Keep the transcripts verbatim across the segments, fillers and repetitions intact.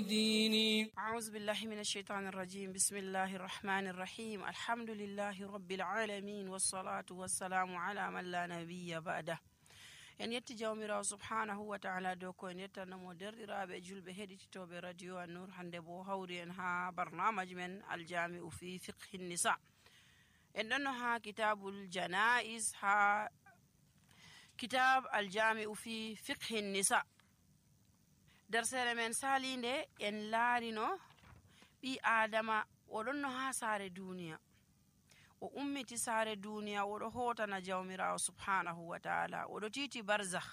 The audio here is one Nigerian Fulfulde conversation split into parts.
ديني. أعوذ بالله من الشيطان الرجيم. بسم الله الرحمن الرحيم. الحمد لله رب العالمين والصلاة والسلام على من لا نبي بعده. en yetti jawmirawo subhanahu wa ta'ala dow ko en yettanamo derɗiraɓe julɓe heɗititoɓe radio an-nur. hande bo hawri en ha barnamaji men aljami'u fi fiqhi nisa. en ɗonno ha kitabul janaiz, ha kitab aljami'u fi fiqhi nisa. dersere men salinde en laarino ɓi adama oɗonno ha saare duniya, o ummiti saare duniya, oɗo hotana jawmirawo subhanahu wa ta'ala, oɗo titi barzakh.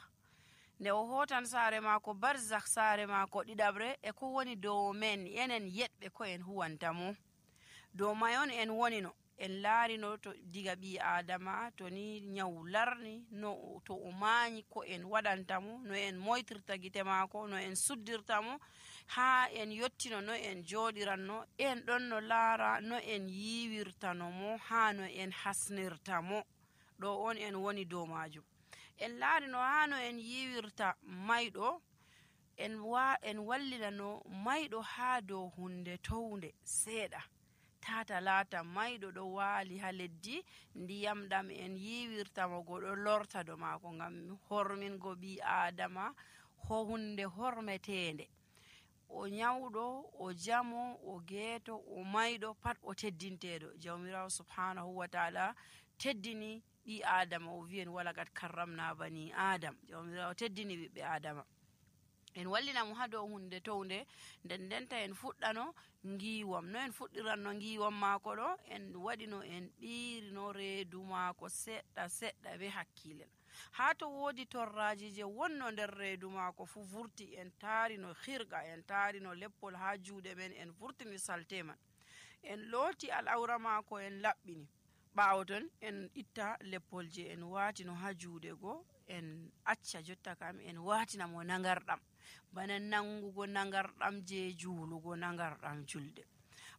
nde o hotan saare mako barzakh, saare mako ɗiɗabre e ko woni dow men enen yeɗɓe ko en huwantamo. dow mayon en wonino, en laarino to diga ɓi adama to ni nyaw larni, no to o mañi ko en waɗantamo, no en moytirta gite mako, no en suddirtamo, ha en yottino no en joɗiranno, en ɗon no laara no en yiwirtanomo, ha no en hasnirtamo. ɗo on en woni dow majum. en laarino ha no en yiwirta mayɗo, en wa en wallinano mayɗo ha dow hunde townde seeɗa, tata laata mayɗo ɗo waali ha leddi, ndiyam ɗam en yiwirtamo go ɗo lorta do maako, ngam hormingo ɓi adama ho hunde hormetende. o nyawɗo, o jamo, o geeto, o mayɗo, pat o teddinteɗo. jawmirawo subhanahu wa ta'ala teddini ɓi adama, o wi'en walaqad karramna bani adam. jawmirawo teddini ɓiɓɓe adama. en wallinamo ha dow hunde townde, nden ndenta en fuɗɗano ngiwam. no en fuɗɗiranno ngiwam maako ɗo, en waɗino en ɓiirino reedu maako seɗɗa seɗɗa be hakkilel. ha to woodi torraji je wonno nder reedu maako fu vurti, en taarino hirga, en taarino leppol ha juuɗe men, en vurtini salte man, en looti al'aura maako, en laɓɓini. ɓaawo ton en itta leppol je en waatino ha juuɗe go, en acca jotta kam en waatinamo nangarɗam, bana nangugo nangarɗam je juulugo nangarɗam julde.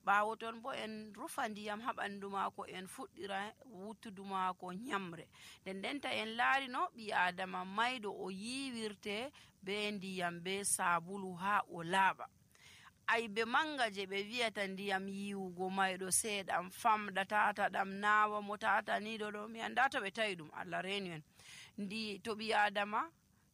ɓaawo ton bo en rufa ndiyam ha ɓandu maako, en fuɗɗira wuttudu maako nyamre. nden ndenta en laarino ɓi adama mayɗo o yiwirte be ndiyam be sabulu ha o laaɓa. aybe manga je ɓe wiyata ndiyam yiwugo mayɗo seeɗam famɗa, tata ɗam nawa mo, tata niɗo ɗo, mi anda to ɓe tawi ɗum, Allah reni en. ndi to ɓi adama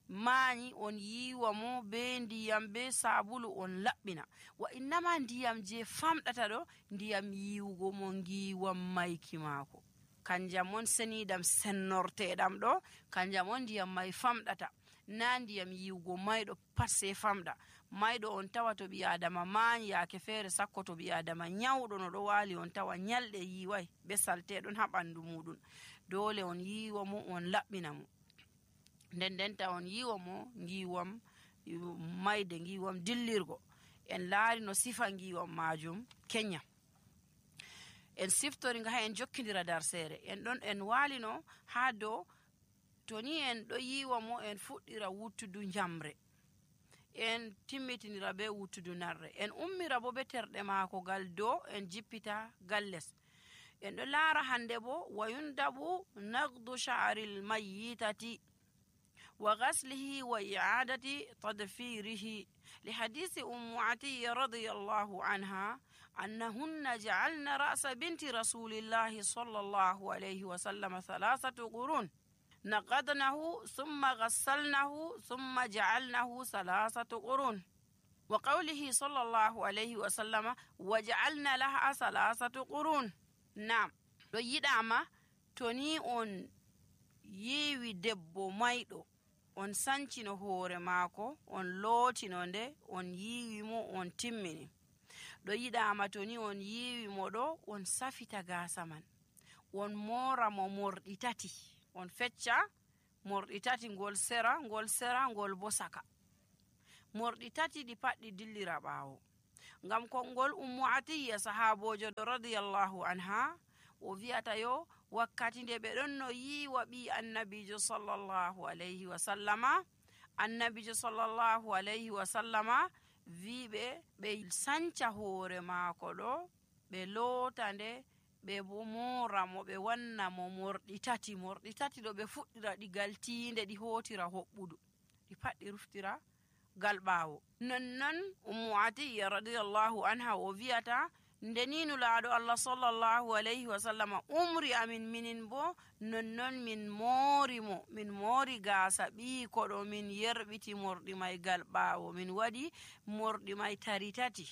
mañi, on yiwa mo be ndiyam be sabulu, on laɓɓina. wa innama ndiyam je famɗata ɗo, ndiyam yiwugo mo ngiwam mayki maako, kanjam on seniɗam sennorteɗam ɗo, kanjam on ndiyam may famɗata, na ndiyam yiwugo mayɗo pat se famɗa. mayɗo on tawa to ɓi adama mañi, yaake feere sakko to ɓi adama nyawɗo no ɗo waali, on tawa nyalɗe yiwai be salteɗon ha ɓandu muɗum. dole on yiwa mo, on laɓɓina mo. nden ndenta on yiwa mo ngiwam mayde, ngiwam dillirgo. en laari no sifa ngiwam majum kenya. en siftori nga ha en jokkidira darsere. en ɗon en walino ha dow to ni en ɗo yiwa mo, en fuɗɗira wuttudu njamre, en timmitinira be wuttudu narre, en ummira bo be terɗe maako gal dow, en jippita gal les. en ɗo laara hande bo wayundabu nagdu sha'ril mayyitati wa ghaslihi wa i'adati tadfirihi li hadisi ummu atiyya radiyallahu anha annahunna ja'alna ra'sa binti rasulillahi sallallahu alayhi wa sallam thalathatu qurun naqadnahu thumma ghassalnahu thumma ja'alnahu thalathatu qurun wa qawlihi sallallahu alayhi wa sallam waja'alna laha thalathatu qurun. Naam, ɗo yiɗama to ni on yiwi debbo mayɗo, on sancino hoore maako, on lootino nde, on yiwi mo, on timmini. ɗo yiɗama to ni on yiwi mo ɗo, on safita gaasa man, on mora mo morɗi tati, on fecca morɗi tati, ngol sera, ngol sera, ngol bo saka. morɗi tati ɗi pat ɗi dillira ɓaawo. ngam konngol ummu atiyya sahabojo ɗo radiyallahu anha, o wi'ata yo wakkati nde ɓe ɗon no yiwa ɓi annabijo sallallahu alayhi wa sallama, annabijo sallallahu alayhi wa sallama wiɓe ɓe sanca hoore maako ɗo, ɓe loota nde, ɓe bo mora mo, ɓe wanna mo morɗi tati. morɗi tati ɗo ɓe fuɗɗira ɗi gal tiinde, ɗi hotira hoɓɓudu, ɗi pat ɗi ruftira gal ɓaawo. nonnon ummu atiya radiyallahu anha o wiyata ndeni nulaaɗo allah sallallahu alayhi wa sallama umri amin minin bo nonnon min moori mo min moori gaasa ɓiiko ɗo min yerɓiti morɗi may gal ɓaawo min waɗi morɗi may tari tati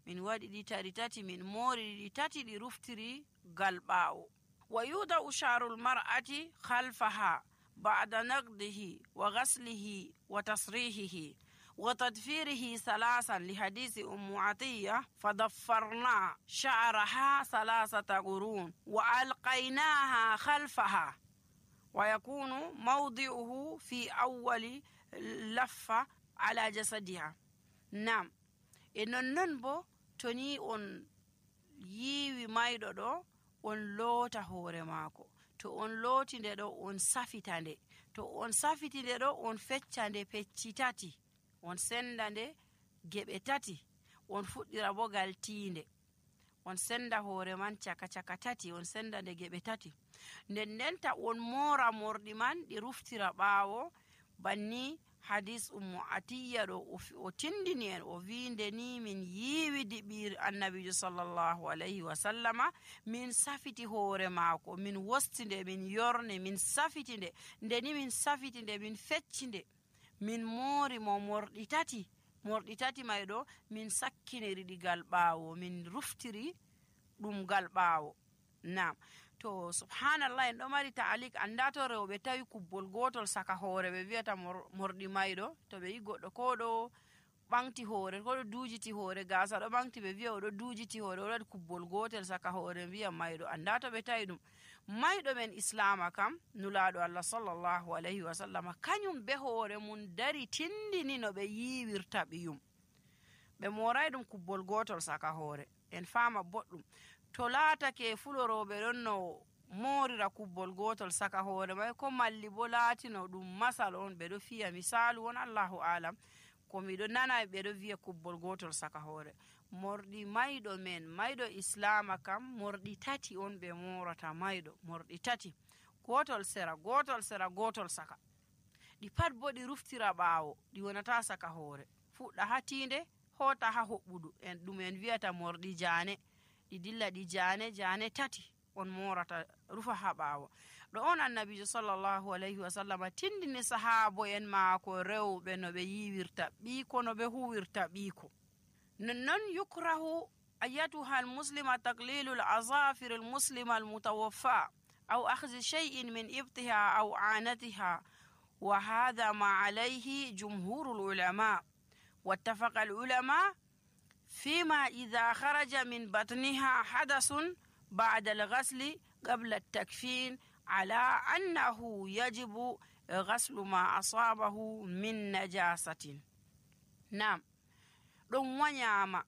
min waɗi ɗi tari tati min moori ɗi tati ɗi ruftiri gal ɓaawo. wa yuda usharul mar'ati khalfaha ba'da naqdihi wa ghaslihi wa tasrihihi وتدفيره ثلاثا لحديث أم عطية فضفرنا شعرها ثلاثة قرون وألقيناها خلفها ويكون موضعه في أول لفة على جسدها. نعم إنن ننبو تني أن يوي مايدو دو أن لوتا هوري ماكو to on lootinde ɗo on safitande to on safitinde ɗo on feccande pecci tati on senda nde geɓe tati on fuɗɗira bo gal tiinde on senda hoore man caka caka tati on senda nde geɓe tati nden ndenta on moora morɗi man ɗi ruftira ɓaawo banni hadis ummu atiya ɗo o tindini en o winde ni min yiiwi diɓir annabijo sallallahu alayhi wa sallama min safiti hoore maako min wostinde min yorne min safiti nde ndeni min safiti nde min fecci nde min moori mo morɗi tati morɗi tati may ɗo min sakkiniri ɗi gal ɓaawo min ruftiri ɗum gal ɓaawo. Nam to subhanallah en ɗo mari taalik anda to rewɓe tawi kubbol gotol saka hoore ɓe wiyata morɗi mayɗo to ɓe yi goɗɗo ko ɗo ɓanti hoore ko ɗo duujiti hoore gaasa ɗo ɓanti ɓe wiya oɗo duujiti hoore oɗo waɗi kubbol gotel saka hoore wiya mayɗo anda to ɓe tawi ɗum mayɗo men islama kam nulaaɗo allah sallallahu alayhi wa sallam kañum be hoore mum dari tindini no ɓe yiiwirta ɓiyum ɓe moray ɗum kubbol gotol saka hoore en faama boɗɗum to laatake fuloroɓe ɗon no moorira kubbol gotol saka hoore may ko malli bo laatino ɗum masal on ɓe ɗo fiya misalu won allahu alam ko miɗo nana ɓe ɗo wiya kubbol gotol saka hoore morɗi mayɗo men mayɗo islama kam morɗi tati on ɓe morata mayɗo morɗi tati gotol sera gotol sera gotol saka ɗi pat bo ɗi ruftira ɓaawo ɗi wonata saka hoore fuɗɗa ha tiinde hota ha hoɓɓudu en ɗum en wiyata morɗi jaane ɗi dilla ɗi jaane jaane tati on morata rufa ha ɓaawo ɗo on annabijo sallallahu alayhi wa sallam tindini sahabo en maako rewɓe no ɓe yiwirta ɓiiko no ɓe huwirta ɓiiko nonnon yukrahu ayatuha almuslima taqlilu alazafir almuslima almutawaffa aw akhzi shay'in min ibtiha aw anatiha wa hadha ma alayhi jumhuru alulama واتفق العلماء فيما إذا خرج من بطنها حدث بعد الغسل قبل التكفين على أنه يجب غسل ما أصابه من نجاسة. نعم ɗum wanyama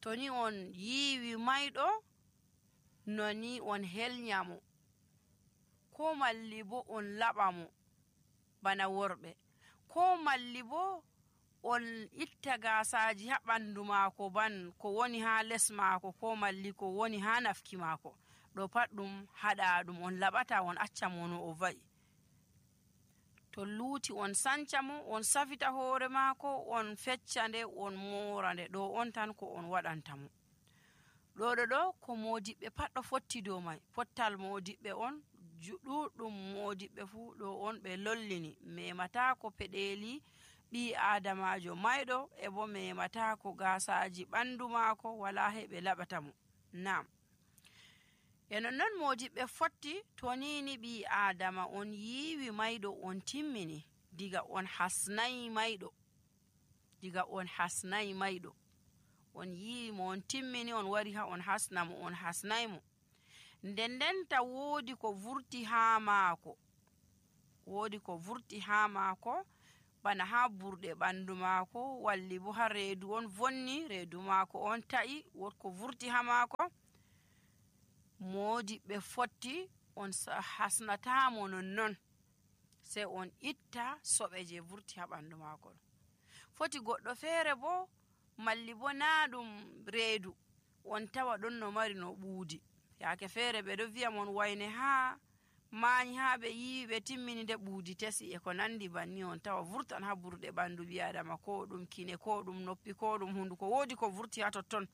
to ni on yiwi mayɗo no ni on helnyamo ko malli bo on laɓa mo bana worɓe ko malli bo on itta gasaji ha ɓandu maako ban ko woni ha les maako ko malli ko woni ha nafki maako ɗo pat ɗum haɗa ɗum on laɓata on acca mo no o va'i to luuti on sanca mo on safita hoore maako on fecca nde on moora nde ɗo on tan ko on waɗanta mo ɗo ɗo ɗo ko modiɓɓe pat ɗo fotti dow may pottal modiɓɓe on ɗuɗɗum modiɓɓe fuu ɗo on ɓe lollini memata ko peɗeli ɓi adamajo mayɗo e bo memata ko gasaji ɓandu maako wala heɓe laɓata mo. Nam e nonnon modiɓɓe fotti to nini ɓi adama on yiwi mayɗo on timmini diga on hasnayi mayɗo diga on hasnayi mayɗo on yiwi mo on timmini on wari ha on hasna mo on hasnayi mo nden ndenta woodi ko vurti ha maako woodi ko vurti ha maako bana ha burɗe ɓandu maako walli bo ha reedu on vonni reedu maako on ta'i wot ko vurti ha maako modiɓɓe fotti on hasnatamo nonnon sei on itta soɓe je vurti ha ɓandu maako foti goɗɗo feere bo malli bo na ɗum reedu on tawa ɗon no mari no ɓuudi yaake feere ɓe ɗo wi'a mon wayne ha maayi haa ɓe yiwi ɓe timmini nde ɓuudi tesi e ko nandi banni on tawa vurtan haa burɗe ɓandu ɓi adama, ko ɗum kine, ko ɗum noppi, ko ɗum hunduko, woodi ko vurti haa totton.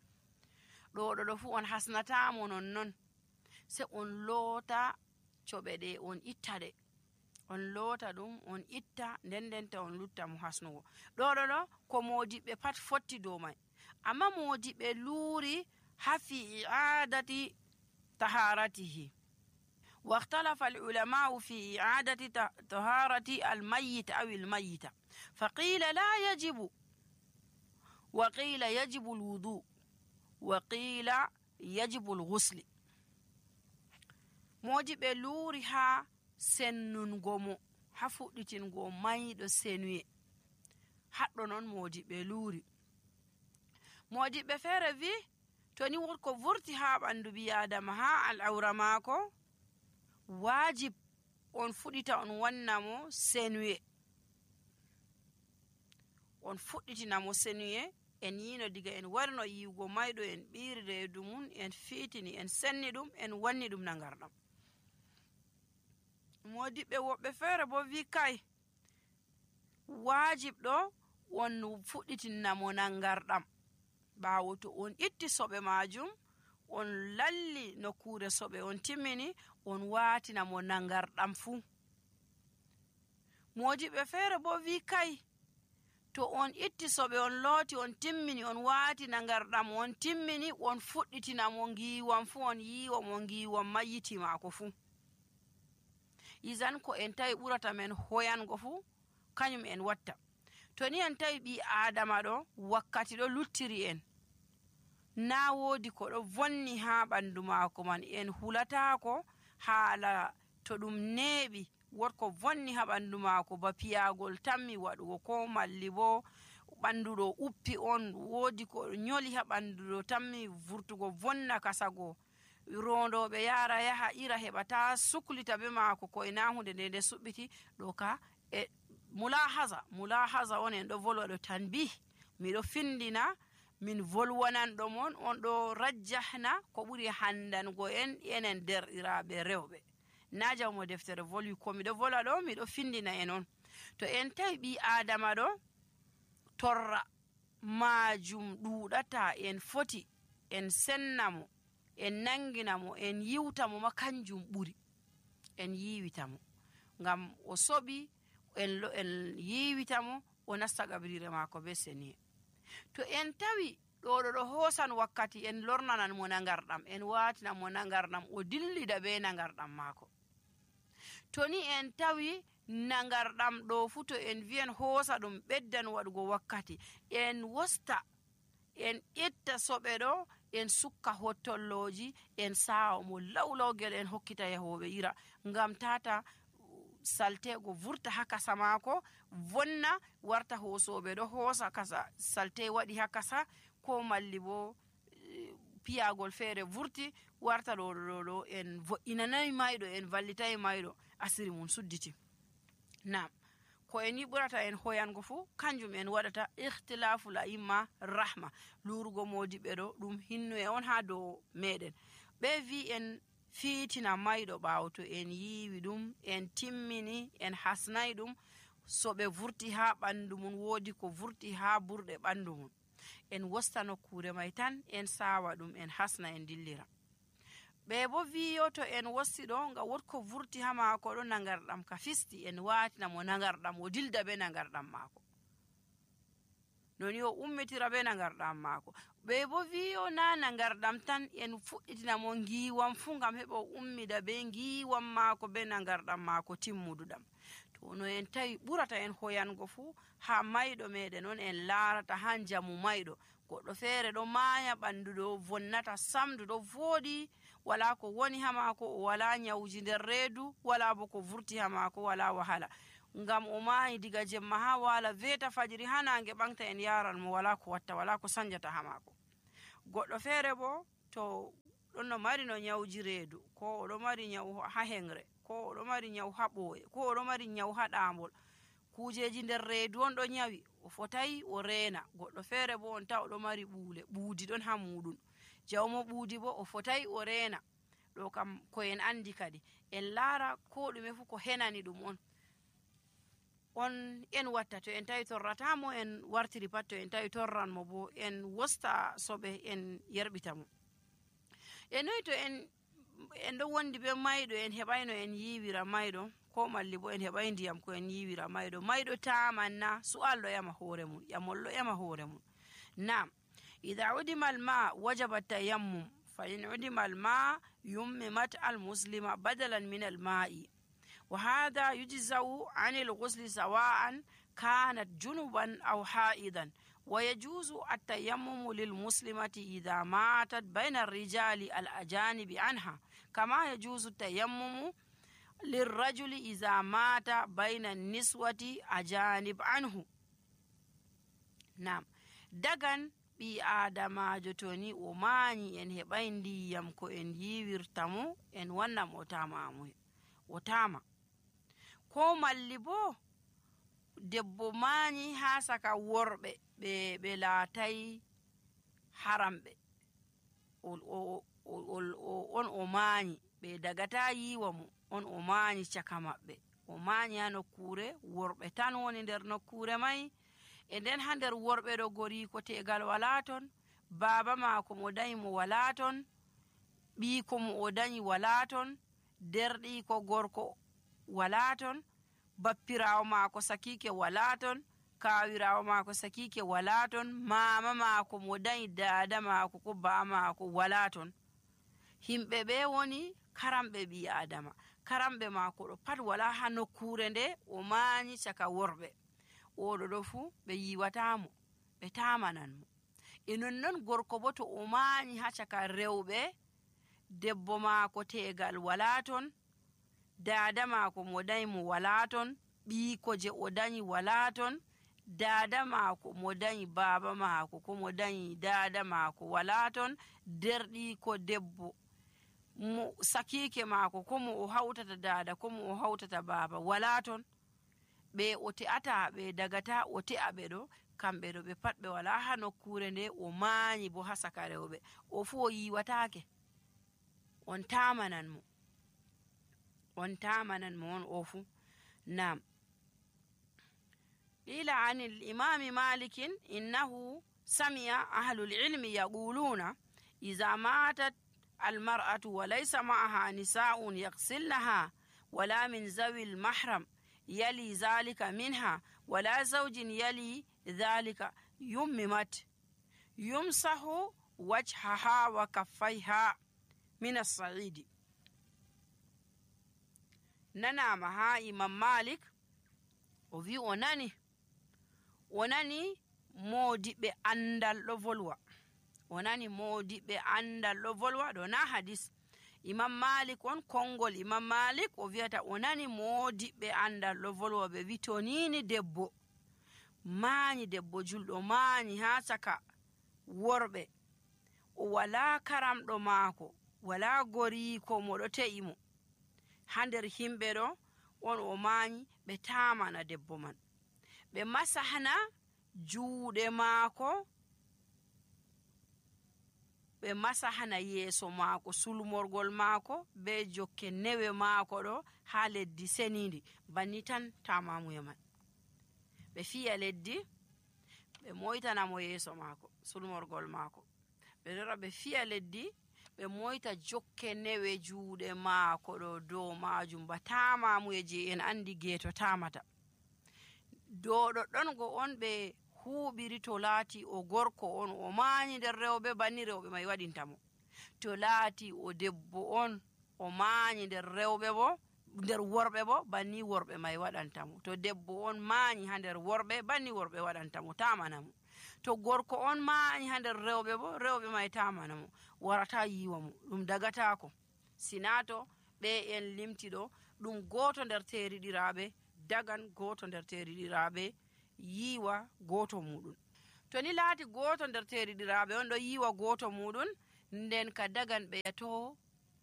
ɗo ɗo ɗo fu on hasnatamo nonnon, se on loota coɓe ɗe on itta ɗe, on loota ɗum on itta, nden ndenta on lutta mo hasnugo. ɗo ɗo ɗo ko modiɓɓe pat fotti dow mai, amma modiɓɓe luuri hafi i'adati taharatihi. واختلف العلماء في إعادة طهارة الميت أو الميتة، فقيل لا يجب، وقيل يجب الوضوء، وقيل يجب الغسل. modiɓɓe luuri ha sennungo mo, ha fuɗɗitingo mayɗo senuye, haɗɗo non modiɓɓe luuri. modiɓɓe feere vi to ni wotko vurti ha ɓandu ɓi adama ha al'aura maako, wajib on fuɗita on wanna mo senuye, on fuɗɗitina mo senuye. en yino diga en warno yiwugo mayɗo, en ɓiiri reedu mum, en fiitini, en senni ɗum, en wanni ɗum nangarɗam. modiɓɓe woɓɓe feere bo wi kai wajib ɗo on fuɗɗitinna mo nangarɗam, ɓaawo to on itti soɓe majum, on lalli nokkure soɓe, on timmini, on waatina mo nangarɗam fuu. modiɓɓe feere bo wi kai to on itti soɓe, on looti, on timmini, on waati nangarɗam, on timmini, on fuɗɗitina mo ngiiwam fuu, on yiiwa mo ngiiwam mayyiti maako fuu. izan ko en tawi ɓurata men hoyango fuu kañum en watta. to ni en tawi ɓi adama ɗo wakkati ɗo luttiri en, na woodi ko ɗo vonni ha ɓandu maako man, en hulatako haala to ɗum neeɓi wotko vonni ha ɓandu maako, ba piyagol tammi waɗugo, ko malli bo ɓandu ɗo uppi on, woodi ko nyoli ha ɓandu ɗo tammi vurtugo vonna kasago, rondoɓe yara yaha ira heɓata suklita be maako ko ina hunde nde nde suɓɓiti ɗo ka e mulahaza mulahaza on en ɗo volwa ɗo tanbih, miɗo findina min volwananɗo mon, on ɗo rajjahna ko ɓuri handango en enen derɗiraɓe rewɓe. na jawmo deftere volwi, ko miɗo volwa ɗo miɗo findina en on. to en tawi ɓi adama ɗo torra majum ɗuɗata, en foti en sennamo, en nanginamo, en yiwtamo ma kanjum ɓuri, en yiwitamo ngam o soɓi, en, en yiwitamo o nasta gabrire maako be seniye. to en tawi ɗo ɗo ɗo hoosan wakkati, en lornanan mo nangarɗam, en watina mo nangarɗam, o dillida be nangarɗam maako. to ni en tawi nangarɗam ɗo fu to en wiyen hoosa ɗum ɓeddan waɗugo wakkati, en wosta en itta soɓe ɗo, en sukka hottolloji, en sawa mo lawlawgel, en hokkita yahoɓe ira, ngam tata saltego vurta ha kasa maako vonna, warta hoosoɓe ɗo hoosa kasa salte waɗi ha kasa, ko malli bo piyagol feere vurti warta ɗo ɗo ɗo en vo'inanayi mayɗo, en vallitayi mayɗo, asiri mum sudditi. nam ko en yiɓurata en hoyango fu kanjum en waɗata ikhtilafu la imma rahma, lurugo modiɓɓe ɗo ɗum hinnu e on ha dow meɗen. ɓe vi en fiitina mayɗo ɓaawo to en yiwi ɗum, en timmini, en hasnayi ɗum, so ɓe vurti ha ɓandu mum, woodi ko vurti ha burɗe ɓandu mum, en wosta nokkure may tan, en sawa ɗum, en hasna, en dillira. ɓe bo wiyo to en wosti ɗo nga wotko vurti ha maako ɗo nangarɗam ka fisti, en watina mo nangarɗam, o dilda be nangarɗam maako, noni o ummitira be nangarɗam maako. ɓe bo wiyo na nangarɗam tan, en fuɗɗitina mo ngiwam fu ngam heɓa o ummida be ngiwam maako be nangarɗam maako timmuduɗam. to no en tawi ɓurata en hoyango fu ha mayɗo meɗen on, en larata ha jamu mayɗo, goɗɗo feere ɗo maaya ɓandu ɗo vonnata samdu ɗo vooɗi, wala ko woni ha maako, o wala nyawji nder reedu, wala bo ko vurti ha maako, wala wahala, ngam o maayi diga jemma ha wala veta fajiri ha nange ɓangta, en yaran mo, wala ko watta, wala ko sanjata ha maako. goɗɗo feere bo to ɗon no mari no nyawji reedu, ko oɗo mari nyawu ha hengre, ko oɗo mari nyawu ha ɓooye, ko oɗo mari nyawu ha ɗaambol, kujeji nder reedu on ɗo nyawi, o fotayi o reena. goɗɗo feere bo on taw oɗo mari ɓuule, ɓuudi ɗon ha muɗum, jawmo ɓuudi bo o fotayi o reena, ɗo kam ko en andi kadi en laara ko ɗume fu ko henani ɗum on on en watta. To en tawi torratamo en wartiri pat, to en tawi torran mo bo en wosta soɓe en yerɓita mo. e noyi to en en ɗo wondi be mayɗo en heɓayno en yiwira mayɗo, ko malli bo en heɓay ndiyam ko en yiwira mayɗo, mayɗo tamanna su'al ɗo yama hoore mum, ƴamol ɗo yama hoore mum. Nam idha udima alma wajaba tayammum fa in udima alma yummimat almuslima badalan min alma'i wa hadha yujzau an alghusli sawa'an kanat junuban aw ha'idan wa yajuzu at-tayammum lilmuslimati idha matat bayna ar-rijali al-ajanibi anha kama yajuzu at-tayammum lirrajuli idha mata bayna an-niswati ajanib anhu. Nam dagan ɓi adamajo to ni o mañi en heɓay ndiyam ko en yiwirta mo en wannam o tama o tama ko malli bo debbo mañi ha saka worɓe ɓe ɓe laatay haramɓe on o mañi ɓe dagata yiwa mo on o mañi caka maɓɓe, o mañi ha nokkure worɓe tan woni nder nokkure may, e nden ha nder worɓe ɗo goriko tegal wala ton, baba mako mo dañi mo wala ton, ɓiiko mo o dañi wala ton, derɗiko gorko wala ton, bappirawo mako sakike wala ton, kawirawo mako sakike wala ton, mama mako mo dañi dada mako ko ba mako wala ton. Himɓe ɓe woni karamɓe ɓi adama, karamɓe mako ɗo pat wala ha nokkure nde o mañi caka worɓe, oɗo ɗo fu ɓe yiwatamo ɓe tamanan mo. E nonnon gorko bo to o mañi ha caka rewɓe, debbo mako tegal wala ton, dada mako mo dañi mo wala ton, ɓiiko je o dañi wala ton, dada mako mo dañi baba mako ko mo dañi dada mako wala ton, derɗiko debbo mo sakike mako ko mo o hawtata dada ko mo o hawtata baba wala ton, ɓe o te'ata ɓe dagata o te'a ɓe ɗo, kamɓe ɗo ɓe pat ɓe wala ha nokkure nde o mañi bo ha saka rewɓe, o fu o yiwatake, on tamanan mo on tamanan mo on o fu. Nam qila an al-imami malikin innahu sami'a ahlul ilmi yaquluna idha matat al-mar'atu wa laysa ma'aha nisa'un yaghsilnaha wala min zawi al-mahram yali dhalika minha wala zawjin yali dhalika yummimat yumsahu wajhaha wa kaffayha min as-sa'idi. Nanama ha imam Malik o wi o nani o nani modiɓe andal ɗo volwa, o nani modiɓe andal ɗo volwa ɗo na hadis. Imam Malik on kongol imam Malik o wiyata o nani modiɓe andal ɗo volwa ɓe wi to nini debbo mañi, debbo julɗo mañi ha caka worɓe, o wala karamɗo maako wala goriko mo ɗo te'i mo ha nder himɓe ɗo, on o mañi, ɓe tamana debbo man, ɓe masahna juuɗe maako, ɓe masahna yeeso maako, sulmorgol maako be jokke newe maako ɗo ha leddi senidi, banni tan tamamuye man. Ɓe fiya leddi ɓe moytana mo yeeso maako, sulmorgol maako, ɓe lora ɓe fiya leddi ɓe moyta jokke newe juuɗe maako ɗo dow majum, ba tamamuye je en andi geeto tamata. Dow ɗoɗɗon go on ɓe huɓiri to laati o gorko on o mañi nder rewɓe banni rewɓe mai waɗintamo, to laati o debbo on o mañi nder rewɓe bo nder worɓe bo banni worɓe mai waɗantamo, to debbo on mañi ha nder worɓe banni worɓe waɗantamo, tamanamo, to gorko on mañi ha nder rewɓe bo rewɓe mai tamanamo, warata yiwa mo, ɗum dagatako. Sinato ɓe en limti ɗo ɗum goto nder teriɗiraɓe dagan goto nder teriɗiraɓe yiwa goto muɗum. To ni laati goto nder teriɗiraɓe on ɗo yiwa goto muɗum, nden ka dagan ɓe yato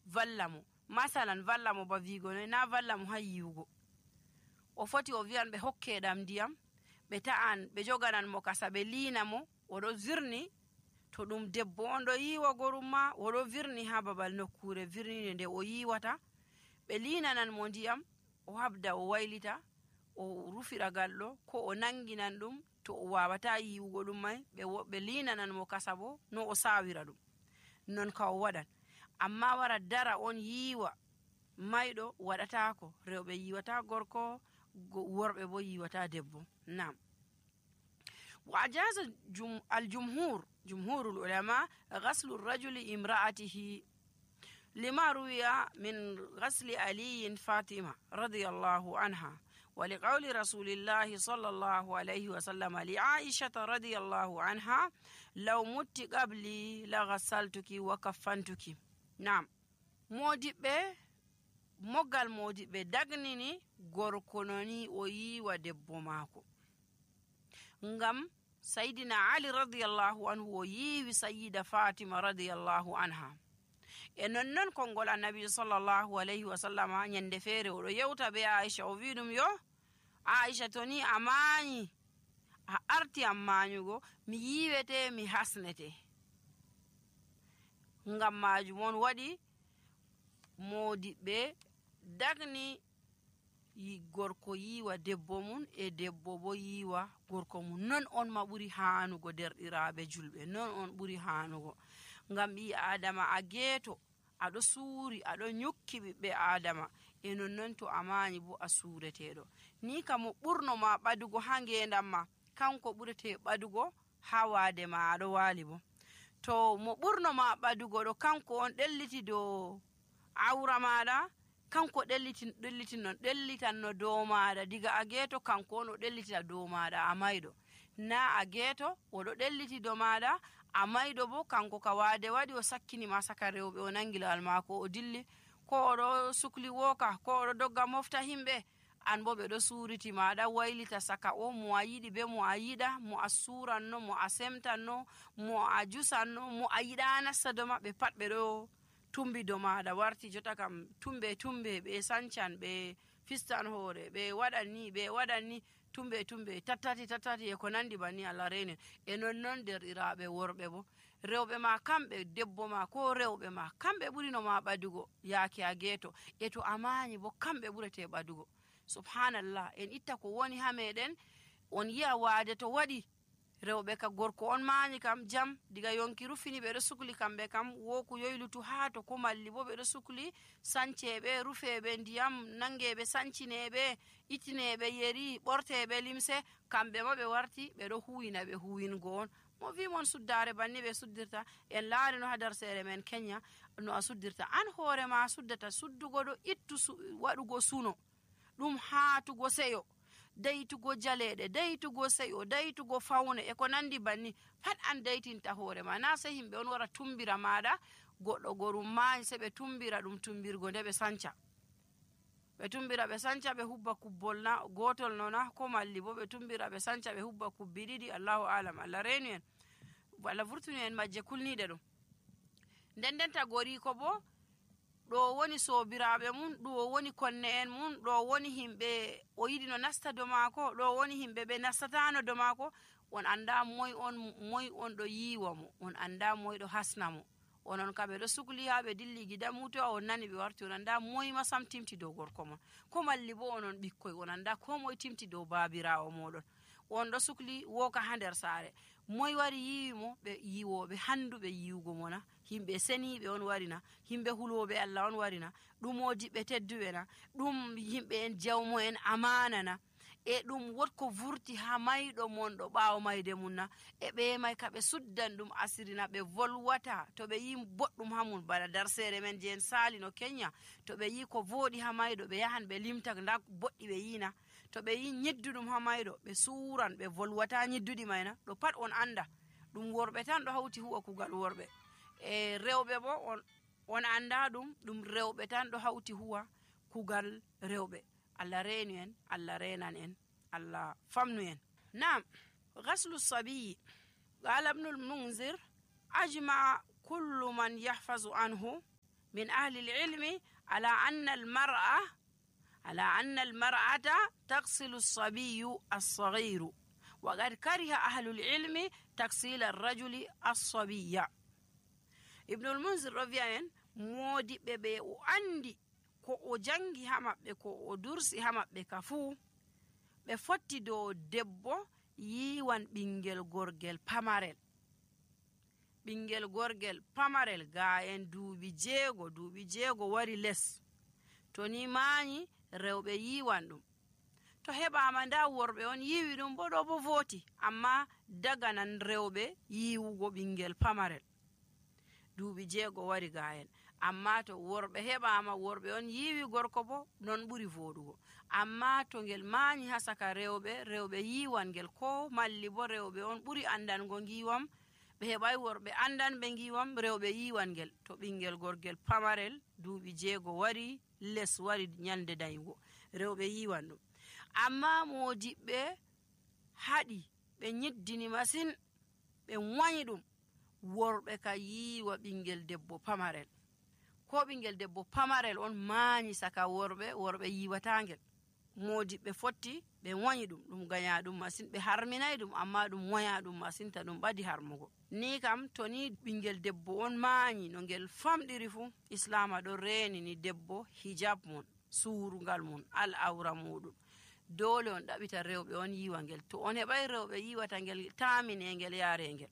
valla mo, masalan valla mo ba vigo noy, na valla mo ha yiwugo, o foti o wiyan ɓe hokke ɗam ndiyam, ɓe ta'an ɓe joganan mo kasa ɓe liina mo, oɗo zirni to ɗum debbo on ɗo yiiwa gorum ma oɗo virni ha babal nokkure virnide nde o yiiwata, ɓe linanan mo ndiyam o habda o waylita o rufira galɗo, ko o nanginan ɗum to o wawata yiwugo ɗum mai ɓe linanan mo kasa bo no o sawira ɗum, non ka o waɗan. Amma wara dara on yiiwa mayɗo waɗatako. Rewɓe yiwata gorko, worɓe bo yiwata debbo. Nam. wa ajaza jum, aljumhur jumhurul ulama ghaslu rajuli imra'atihi lima ruwiya min ghasli aliyin fatima radiyallahu anha ولقول رسول الله صلى الله عليه وسلم لعائشة رضي الله عنها لو مت قبلي لغسلتك وكفنتك. نعم. modiɓɓe moggal modiɓɓe dagnini gorko noni o yiwa debbo maako, ngam sayyidina ali radiyallahu anhu o yiwi sayyida fatima radiyallahu anha. E nonnon konngol annabi sallallahu alayhi wa sallama nyande feere oɗo yewta be aisha o wi ɗum yo aisha to ni a mañi a arti am mañugo mi yiwete mi hasnete. Ngam majum on waɗi modiɓɓe dagni gorko yiwa debbo mum e debbo bo yiwa gorko mum. Non on ma ɓuri hanugo derɗiraɓe julɓe, non on ɓuri hanugo. Ngam ɓi adama a geeto aɗo suuri aɗo nyukki ɓiɓɓe adama, e nonnon to a mañi bo a suureteɗo. Ni ka mo ɓurno ma ɓadugo ha ngendam ma kanko ɓurete ɓadugo ha wade ma aɗo wali bo. To mo ɓurno ma ɓadugo ɗo kanko on ɗelliti dow awra maɗa, kanko ɗellitin ɗellitin non ɗellitanno dow maɗa diga a geeto, kanko on o ɗellitita dow maɗa a mayɗo. Na a geeto oɗo ɗelliti dow maɗa a mayɗo bo kanko ka wade waɗi o sakkinima saka rewɓe o nangi lawal mako o dilli, ko oɗo sukli woka, ko oɗo dogga mofta himɓe, an bo ɓeɗo suriti maɗa waylita saka o mo a yiɗi be mo a yiɗa, mo a suranno, mo a semtanno, mo a jusanno, mo a yiɗa nasta dow maɓɓe pat ɓeɗo tumbi dow maɗa. Warti jotta kam tumbe tumbe ɓe sancan, ɓe fistan hoore, ɓe waɗan ni ɓe waɗan ni, tumbe tumbe tattati tattati e ko nandi banni Allah reni. E nonnon derɗiraɓe worɓe bo, rewɓe ma kamɓe, debbo ma ko rewɓe ma kamɓe ɓurino ma ɓadugo yaake a geeto, e to a mañi bo kamɓe ɓurete ɓadugo. Subhanallah, en itta ko woni ha meɗen, on yi'a waade to waɗi rewɓe ka gorko on mañi kam jam diga yonki rufini ɓeɗo sukli kamɓe kam woku yoylutu ha to, ko malli bo ɓeɗo sukli sanceɓe, rufeɓe ndiyam, nangeɓe sancineɓe, itineɓe yeri, ɓorteɓe limse, kamɓe ma ɓe warti ɓeɗo huwina ɓe huwingo on. Mo wi mon suddare banni ɓe suddirta, en laari no ha darsere men Kenya no a suddirta. An hoore ma suddata suddugo ɗo ittu su, waɗugo suno ɗum haatugo seyo, daytugo jaleɗe, daytugo seyo, daytugo fawne e ko nandi banni pat an daytinta hoore ma. Na sai himɓe on wara tumbira maɗa goɗɗo gorum mañi se ɓe tumbira ɗum tumbirgo nde ɓe sanca, ɓe tumbira ɓe sanca ɓe hubba kubbol na gotol nona, ko malli bo ɓe tumbira ɓe sanca ɓe hubba kubbi ɗiɗi. Allahu alam, Allah renu en, Allah vurtuni en majje kulniɗe ɗum. Nden denta gori ko bo ɗo woni sobiraɓe mum, ɗo woni konne en mum, ɗo woni himɓe o yiɗi no nasta do maako, ɗo woni himɓe ɓe nastatano do maako. On anda moy on moy on ɗo yiwa mo, on anda moy ɗo hasna mo. Onon ka ɓeɗo sukli ha ɓe dilli gida muto on nani ɓe warti, on anda moy ma sam timti dow gorko mon, ko malli bo onon ɓikkoy on anda ko moy timti dow babirawo moɗon. On ɗo sukli woka ha nder saare, moy wari yiwi mo? Ɓe yiwoɓe handuɓe yiwugo mona, himɓe seniɓe on warina, himɓe huloɓe Allah on warina, ɗum modiɓɓe tedduɓe na, ɗum himɓe en jawmo en amana na, e ɗum wotko vurti ha mayɗo mon ɗo ɓawo mayde mum na, e ɓe may ka ɓe suddan ɗum asirina, ɓe volwata to ɓe yi boɗɗum ha mum. Bana darsere men je en sali no Kenya, to ɓe yi ko voɗi ha mayɗo ɓe yahan ɓe limta nda boɗɗi ɓe yina, to ɓe yi nyedduɗum ha mayɗo ɓe suran ɓe volwata nyedduɗi mayna, ɗo pat on anda ɗum worɓe tan ɗo hawti huwa kugal worɓe. E rewɓe bo on, on anda ɗum ɗum rewɓe tan ɗo hawti huwa kugal rewɓe. Allah renu en, Allah renan en, Allah famnu en. Naam. Ghaslu sabiyi qala ibn al-Munzir ajma kullu man yahfazu anhu min ahli al-ilmi ala anna al-mar'a على أن المرأة تغسل الصبي الصغير wa qad kariha ahlul ilmi taksila arrajuli assabiya. ibnul munzir ɗo wi'a en moodiɓɓe ɓe o andi ko o jangi ha maɓɓe, ko o dursi ha maɓɓe ka fuu, ɓe fotti dow debbo yiwan ɓingel gorgel pamarel. ɓingel gorgel pamarel ga en duuɓi jeego duuɓi jeego wari les, to ni maani rewɓe yiwan ɗum. to heɓama nda worɓe on yiwi ɗum bo ɗo bo voti, amma daganan rewɓe yiwugo ɓingel pamarel. duuɓi jeego wari ga en, amma to worɓe heɓama worɓe on yiwi gorko bo non ɓuri voɗugo. amma to ngel maani ha saka rewɓe, rewɓe yiwan ngel, ko malli bo rewɓe on ɓuri andango ngiwam, ɓe heɓai worɓe andan ɓe ngiwam, rewɓe yiwan ngel. to ɓingel gorgel pamarel duuɓi jeego wari les, wari nyalde dayugo, rewɓe yiwan ɗum. amma modiɓɓe haɗi ɓe nyiddini masin, ɓe wanyi ɗum, worɓe ka yiwa ɓingel debbo pamarel, ko ɓingel debbo pamarel on maani saka worɓe, worɓe yiwatangel. modiɓɓe fotti ɓe wanyi ɗum, ɗum ganya ɗum masin, ɓe harminai ɗum, amma ɗum wanya ɗum masin, ta ɗum ɓadi harmugo. ni kam to ni ɓingel debbo on maani no ngel famɗiri fu, islama ɗo reni ni debbo hijab mun, surungal mun, al awra muɗum, dole on ɗaɓita rewɓe on yiwa ngel. to on heɓai rewɓe yiwata ngel, tamine ngel yaare ngel.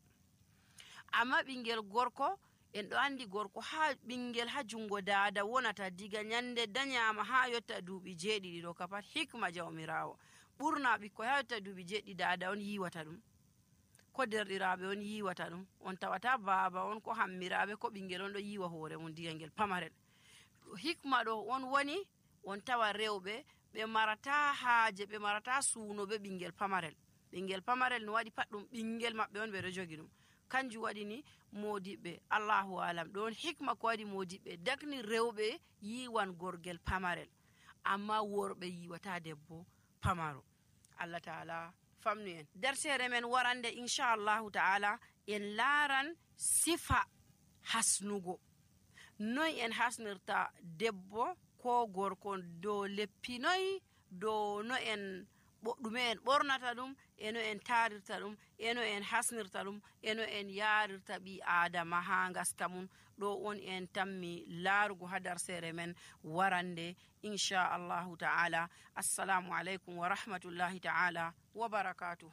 amma ɓingel gorko, en ɗo andi gorko ha ɓingel ha jungo dada wonata diga nyande danyama ha yotta duuɓi jeeɗiɗi, ɗo ka pat hikma jawmirawo. ɓurna ɓikkoy ha yotta duuɓi jeeɗiɗi dada on yiwata ɗum, ko derɗiraɓe on yiwata ɗum, on tawata baaba on ko hammiraɓe ko ɓingel on ɗo yiwa hoore mum diga ngel pamarel. hikma ɗo on woni on tawa rewɓe ɓe marata haaje, ɓe marata suuno be ɓingel pamarel. ɓingel pamarel no waɗi pat ɗum ɓingel maɓɓe on ɓe ɗo jogi ɗum. kanjum waɗi ni modiɓɓe, allahu alam, ɗon hikma ko waɗi modiɓɓe dagni rewɓe yiwan gorgel pamarel, amma worɓe yiwata debbo pamaro. allah taala famnu en. dersere men warande inchallahu taala en laaran sifa hasnugo, noy en hasnirta debbo ko gorko, dow leppi noy, dow no en ɗume en ɓornata ɗum, eno en tarirta ɗum, eno en hasnirta ɗum, eno en yarirta ɓi adama ha ngaska mum. ɗo on en tammi laarugo ha darsere men warande inchallahu taala. assalamu aleykum wa rahmatullahi taala wa barakatuh.